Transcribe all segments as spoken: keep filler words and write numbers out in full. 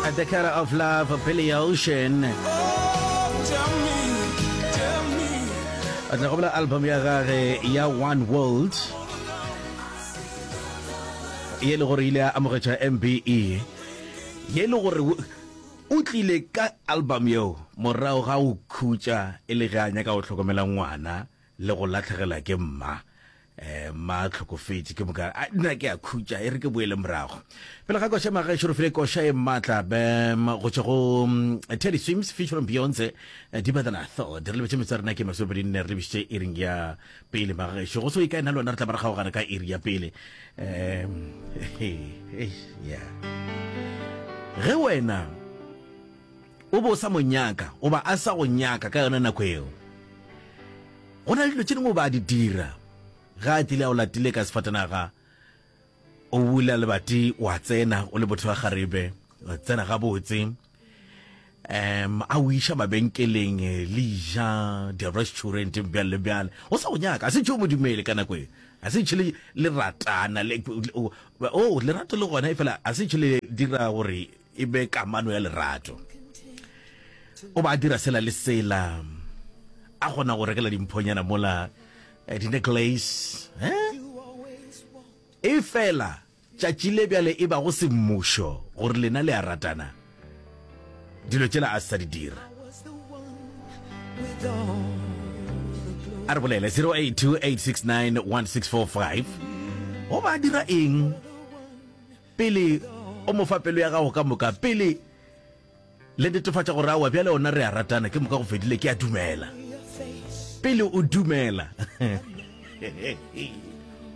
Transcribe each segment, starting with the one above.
The Color of Love, Billy Ocean. A tla gobola album ya gage ya One World ye le gore ile a amogetša M B E, ye le gore o tlile ka album yeo morago ga go khutša e le ge a nyaka go hlokomela ngwana le go latlhegela ke mma, um mma a tlhokofetše. Ke moka a nna ke a khutša, e re ke boele morago. Pele ga koša, magešo, re file koša e maatla bem go tšwa go mm, Teddy Swims featuring Beyonce, eh, Deeper Than I Thought. Re lebetše metso ya rena ke masomepedi nne, re lebišitše iring ya pele. Magešo, go se o ikae nna le wena re tla ba re kgaogana ka iri ya pele. um yeah, ge wena o bo o sa mo nyaka goba a sa go nyaka ka yona nako eo, go na le dilo tše dingwe o ba a di dira ga a tlile a o latile ka sefatanaga. O bula lebati, wa tsena o le botho wa garebe, wa tsena gabotse, um a o iša mabenkeleng, le ja di-restauranteng, bjale le bjale. O sa go nyaka, a se tšeo mo dumele ka nako e, a se tšhe le ratana le o lerato le gona, e fela a se tšhe le dira gore e be kamano ya lerato. O ba dira sela le sela, a kgona go rekela dimphonyana mola, eh, di-necklace, eh? E fela tšatši le bjale e ba go semmušo gore lena le a ratana, dilo tšela a se sa di dira. A re bolele zero eight two, eight six nine, one six four five. Go ba dira eng pele o mo fa pelo ya gago ka moka, pele le netefatša gore awa bjale ona re a ratana, ke moka go fedile, ke a dumela? Pele o dumela,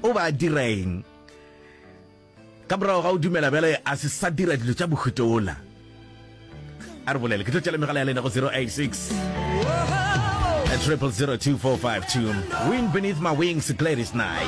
o ba dira eng? Ka morago ga o dumela, bjale a se sa dira dilo tša mohuta ola. A re bolele, ke tlo tšela megala ya lena go zero eight six triple zero two four five two. Wind Beneath My Wings, Gladys Knight.